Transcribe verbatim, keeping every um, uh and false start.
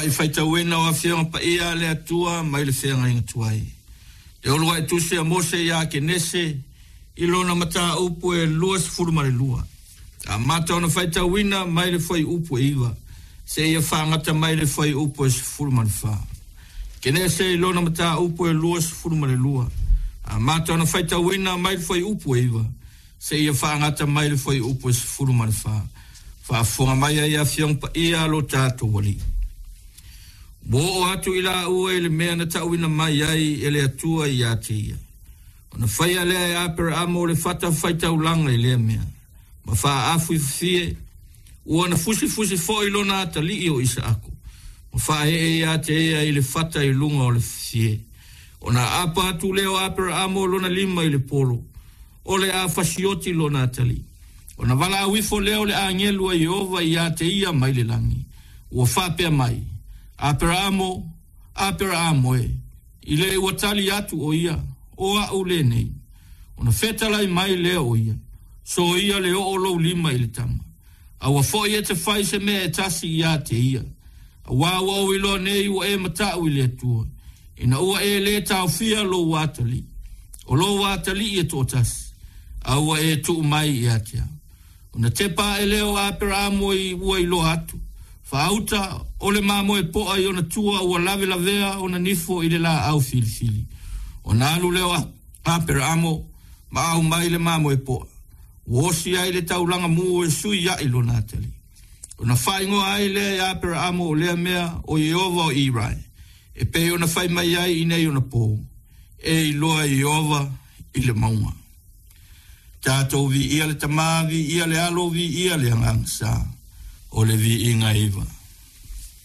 Uluai faitauina o Afioga Paia a le Atua mai le Feagaiga Tuai. Le uluai tusi a Mose ia Kenese i lona mataupu e luasefulu ma le lua. Amata ona faitauina mai le fuaiupu e iva seia faagata mai le fuaiupu e sefulu ma le fa. Kenese i lona mataupu e luasefulu ma le lua. Amata ona faitauina mai le fuaiupu e iva seia faagata mai le fuaiupu e sefulu ma le fa. Faafofoga mai ai Afioga Paia a lo tatou Alii. Ua oo atu i laua i le mea na tauina mai ai e le Atua ia te ia. Ona faia lea e Aperaamo o le fata faitaulaga i lea mea. Ma faaafu i fafie, ua na fusifusi foi lona atalii o Isaako. Ma faaee ia te ia i le fata i luga o le fafie. Ona aapa atu lea o Aperaamo lona lima i le polo, o le a fasioti lona atalii. Ona valaau ifo lea o le agelu a Ieova ia te ia mai le lagi. Ua faapea mai, Aperaamo, Aperaamo e, i le ua tali atu o ia, o a'u lenei. Ona fetalai mai lea o ia, soia le oo lou lima i le tama. Aua foi e te fai se mea e tasi ia te ia. Auā ua ou iloa nei ua e mata'u i le Atua, ina ua e lē taofia lou atalii, o lou atalii e to'atasi, a ua e tuu mai ia te au. Ona tepa ae lea o Aperaamo i ua iloa atu, faauta o le mamoe po'a i ona tua ua lavelavea ona nifo i le laau filifili. Ona alu lea o Aperaamo ma aumai le mamoe po'a, ua osi ai le taulaga mu e sui a'i lona atalii. Ona faaigoa ai lea e Aperaamo o lea mea o Ieova o Irai, e pei ona fai mai ai i nei ona pō, e iloa Ieova i le mauga. Tatou viia le Tamā, viia le Alo, viia le Agaga Sa, o le viiga iva.